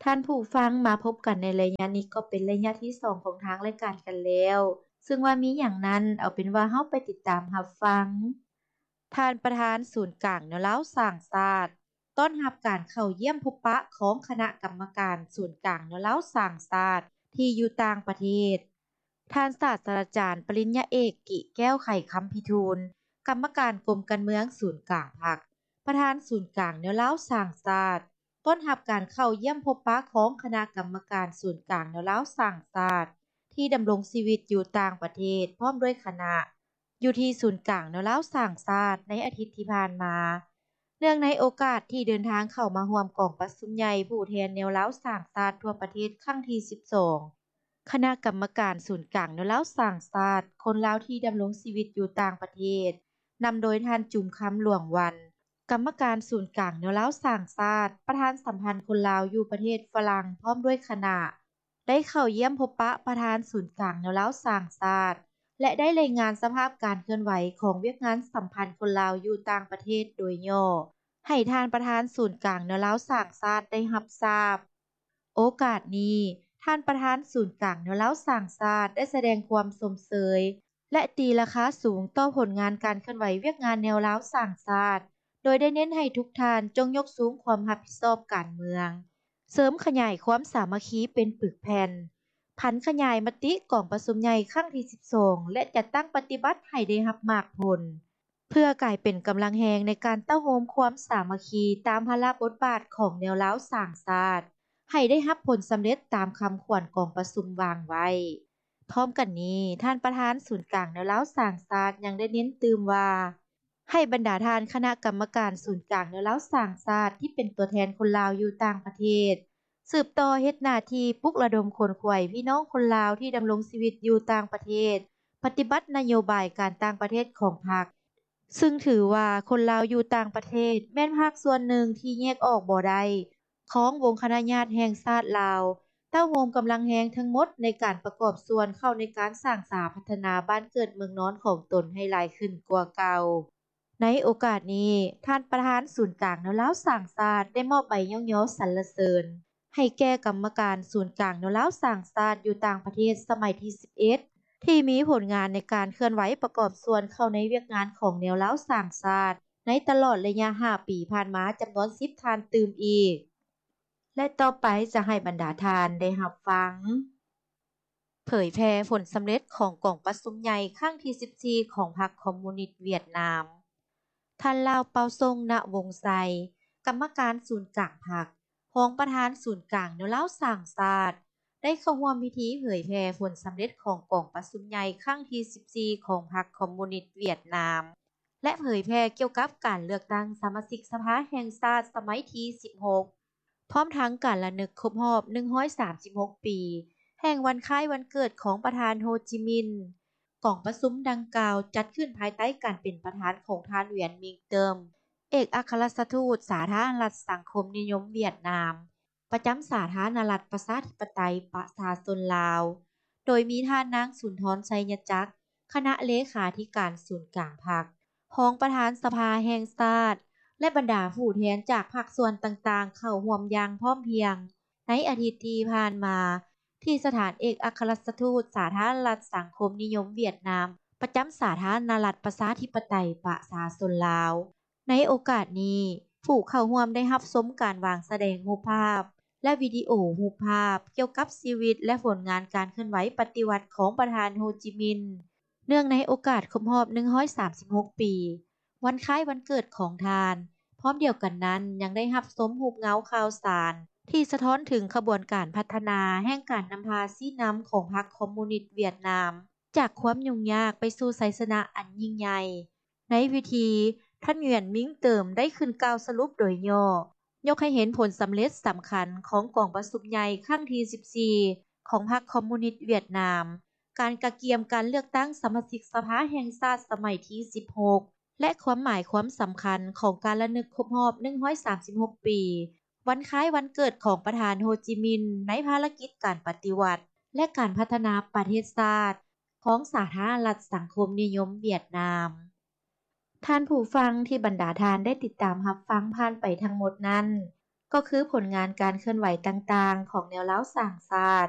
ທ່ານຜູ້ຟັງ, ມາພົບກັນໃນໄລຍະນີ້ກໍເປັນໄລຍະທີສອງຂອງທາງລາຍການກັນແລ້ວ, ເຊິ່ງວ່າມີຫຍັງນັ້ນ, ເອົາເປັນວ່າເຮົາໄປຕິດຕາມຮັບຟັງ. ທ່ານປະທານສູນກາງແນວລາວສ້າງຊາດ ຕ້ອນຮັບການເຂົ້າຢ້ຽມພົບປະຂອງຄະນະກຳມະການສູນກາງແນວລາວສ້າງຊາດທີ່ຢູ່ຕ່າງປະເທດ. ທ່ານສາດສະດາຈານປະລິນຍາເອກ ກິແກ້ວ ໄຂຄຳພິທູນ, ກຳມະການກົມການເມືອງສູນກາງພັກ, ປະທານສູນກາງແນວລາວສ້າງຊາດ, ຕ້ອນຮັບການເຂົ້າຢ້ຽມພົບປະຂອງຄະນະກຳມະການສູນກາງແນວລາວສ້າງຊາດ ທີ່ດຳລົງຊີວິດຢູ່ຕ່າງປະເທດ ພ້ອມດ້ວຍຄະນະ ຢູ່ທີ່ສູນກາງແນວລາວສ້າງຊາດໃນອາທິດທີ່ຜ່ານມາ. ເນື່ອງໃນໂອກາດທີ່ເດີນທາງເຂົ້າມາຮ່ວມກອງປະຊຸມໃຫຍ່ຜູ້ແທນແນວລາວສ້າງຊາດທົ່ວປະເທດຄັ້ງທີສິບສອງ, ຄະນະກຳມະການສູນກາງແນວລາວສ້າງຊາດ ຄົນລາວທີ່ດຳລົງຊີວິດຢູ່ຕ່າງປະເທດ ນຳໂດຍທ່ານ ຈູມຄຳ ຫຼວງວັນ, ກຳມະການສູນກາງແນວລາວສ້າງຊາດ, ປະທານສຳພັນຄົນລາວຢູ່ປະເທດຝຣັ່ງ ພ້ອມດ້ວຍຄະນະ ໄດ້ເຂົ້າຢ້ຽມພົບປະປະທານສູນກາງແນວລາວສ້າງຊາດ ແລະ ໄດ້ລາຍງານສະພາບການເຄື່ອນໄຫວຂອງວຽກງານສຳພັນຄົນລາວຢູ່ຕ່າງປະເທດໂດຍຫຍໍ້ ໃຫ້ທ່ານປະທານສູນກາງແນວລາວສ້າງຊາດໄດ້ຮັບຊາບ. ໂອກາດນີ້, ທ່ານປະທານສູນກາງແນວລາວສ້າງຊາດໄດ້ສະແດງຄວາມຊົມເຊີຍ ແລະ ຕີລາຄາສູງຕໍ່ຜົນງານການເຄື່ອນໄຫວວຽກງານແນວລາວສ້າງຊາດ, ໂດຍໄດ້ເນັ້ນໃຫ້ທຸກທ່ານຈົ່ງຍົກສູງຄວາມຮັບຜິດຊອບການເມືອງ, ເສີມຂະຫຍາຍຄວາມສາມັກຄີເປັນປຶກແຜ່ນ, ຜັນຂະຫຍາຍມະຕິກອງປະຊຸມໃຫຍ່ຄັ້ງທີສິບສອງ ແລະ ຈັດຕັ້ງປະຕິບັດໃຫ້ໄດ້ຮັບໝາກຜົນ, ເພື່ອກາຍເປັນກຳລັງແຮງໃນການເຕົ້າໂຮມຄວາມສາມັກຄີຕາມພາລະບົດບາດຂອງແນວລາວສ້າງຊາດ ໃຫ້ໄດ້ຮັບຜົນສຳເລັດຕາມຄຳຂວັນກອງປະຊຸມວາງໄວ້. ພ້ອມກັນນີ້, ທ່ານປະທານສູນກາງແນວລາວສ້າງຊາດຍັງໄດ້ເນັ້ນຕື່ມວ່າ ໃຫ້ບັນດາທ່ານຄະນະກຳມະການສູນກາງແນວລາວສ້າງຊາດທີ່ເປັນຕົວແທນຄົນລາວຢູ່ຕ່າງປະເທດ ສືບຕໍ່ເຮັດໜ້າທີ່ປຸກລະດົມຂົນຂວາຍພີ່ນ້ອງຄົນລາວທີ່ດຳລົງຊີວິດຢູ່ຕ່າງປະເທດ ປະຕິບັດນະໂຍບາຍການຕ່າງປະເທດຂອງພັກ, ຊຶ່ງຖືວ່າຄົນລາວຢູ່ຕ່າງປະເທດແມ່ນພາກສ່ວນໜຶ່ງທີ່ແຍກອອກບໍ່ໄດ້ຂອງວົງຄະນະຍາດແຫ່ງຊາດລາວ, ເຕົ້າໂຮມກຳລັງແຮງທັງໝົດໃນການປະກອບສ່ວນເຂົ້າໃນການສ້າງສາພັດທະນາບ້ານເກີດເມືອງນອນຂອງຕົນໃຫ້ຫຼາຍຂຶ້ນກວ່າເກົ່າ. ໃນໂອກາດນີ້, ທ່ານປະທານສູນກາງແນວລາວສ້າງຊາດໄດ້ມອບໃບຍ້ອງຍໍສັນລະເສີນໃຫ້ແກ່ກຳມະການສູນກາງແນວລາວສ້າງຊາດຢູ່ຕ່າງປະເທດສະໄໝທີສິບເອັດ ທີ່ມີຜົນງານໃນການເຄື່ອນໄຫວປະກອບສ່ວນເຂົ້າໃນວຽກງານຂອງແນວລາວສ້າງຊາດໃນຕະຫຼອດໄລຍະຫ້າປີຜ່ານມາຈຳນວນສິບທ່ານຕື່ມອີກ. ແລະ ຕໍ່ໄປຈະໃຫ້ບັນດາທ່ານໄດ້ຮັບຟັງ ເຜີຍແຜ່ຜົນສຳເລັດຂອງກອງປະຊຸມໃຫຍ່ຄັ້ງທີສິບສີ່ຂອງພັກຄອມມູນິດຫວຽດນາມ. ທ່ານ ລາວ ເປົາຊົງ ນະວົງໄຊ, ກຳມະການສູນກາງພັກ, ຮອງປະທານສູນກາງແນວລາວສ້າງຊາດ ໄດ້ເຂົ້າຮ່ວມພິທີເຜີຍແຜ່ຜົນສຳເລັດຂອງກອງປະຊຸມໃຫຍ່ຄັ້ງທີສິບສີ່ຂອງພັກຄອມມູນິດຫວຽດນາມ ແລະ ເຜີຍແຜ່ກ່ຽວກັບການເລືອກຕັ້ງສະມາຊິກສະພາແຫ່ງຊາດສະໄໝທີສິບຫົກ ພ້ອມທັງການລະນຶກຄົບຮອບໜຶ່ງຮ້ອຍສາມສິບຫົກປີ ແຫ່ງວັນຄ້າຍວັນເກີດຂອງປະທານໂຮຈິມິນ. ກອງປະຊຸມດັ່ງກ່າວຈັດຂຶ້ນພາຍໃຕ້ການເປັນປະທານຂອງທ່ານ ຫວຽນ ມິງເຕີມ ເອກອັກຄະລັດຖະທູດສາທາລະນະລັດສັງຄົມນິຍົມຫວຽດນາມ ປະຈຳສາທາລະນະລັດປະຊາທິປະໄຕປະຊາຊົນລາວ, ໂດຍມີທ່ານນາງ ສຸນທອນ ໄຊຍະຈັກ ຄະນະເລຂາທິການສູນກາງພັກ, ຮອງປະທານສະພາແຫ່ງຊາດ ແລະ ບັນດາຜູ້ແທນຈາກພາກສ່ວນຕ່າງໆ ເຂົ້າຮ່ວມຢ່າງພ້ອມພຽງໃນອາທິດທີ່ຜ່ານມາ ທີ່ສະຖານເອກອັກຄະລັດຖະທູດສາທາລະນະລັດສັງຄົມນິຍົມຫວຽດນາມ ປະຈຳສາທາລະນະລັດປະຊາທິປະໄຕປະຊາຊົນລາວ. ໃນໂອກາດນີ້, ຜູ້ເຂົ້າຮ່ວມໄດ້ຮັບຊົມການວາງສະແດງຮູບພາບ ແລະ ວິດີໂອຮູບພາບກ່ຽວກັບຊີວິດ ແລະ ຜົນງານການເຄື່ອນໄຫວປະຕິວັດຂອງປະທານໂຮຈິມິນ ເນື່ອງໃນໂອກາດຄົບຮອບໜຶ່ງຮ້ອຍສາມສິບຫົກປີ ວັນຄ້າຍວັນເກີດຂອງທ່ານ. ພ້ອມດຽວກັນນັ້ນ, ຍັງໄດ້ຮັບຊົມຮູບເງົາຂ່າວສານທີ່ສະທ້ອນເຖິງຂະບວນການພັດທະນາແຫ່ງການນຳພາຊີ້ນຳຂອງພັກຄອມມູນິດຫວຽດນາມ ຈາກຄວາມຫຍຸ້ງຍາກໄປສູ່ໄຊຊະນະອັນຍິ່ງໃຫຍ່. ໃນພິທີ, ທ່ານ ຫວຽນ ມິງເຕີມ ໄດ້ຂຶ້ນກ່າວສະຫຼຸບໂດຍຫຍໍ້, ຍົກໃຫ້ເຫັນຜົນສຳເລັດສຳຄັນຂອງກອງປະຊຸມໃຫຍ່ຄັ້ງທີສິບສີ່ຂອງພັກຄອມມູນິດຫວຽດນາມ, ການກະກຽມການເລືອກຕັ້ງສະມາຊິກສະພາແຫ່ງຊາດສະໄໝທີສິບຫົກ ແລະ ຄວາມໝາຍຄວາມສຳຄັນຂອງການລະນຶກຄົບຮອບໜຶ່ງຮ້ອຍສາມສິບຫົກປີ ວັນຄ້າຍວັນເກີດຂອງປະທານໂຮຈິມິນ ໃນພາລະກິດການປະຕິວັດ ແລະ ການພັດທະນາປະເທດຊາດຂອງສາທາລະນະລັດສັງຄົມນິຍົມຫວຽດນາມ. ທ່ານຜູ້ຟັງທີ່ບັນດາທ່ານໄດ້ຕິດຕາມຮັບຟັງຜ່ານໄປທັງໝົດນັ້ນ, ກໍຄືຜົນງານການເຄື່ອນໄຫວຕ່າງໆ ຂອງແນວລາວສ້າງຊາດ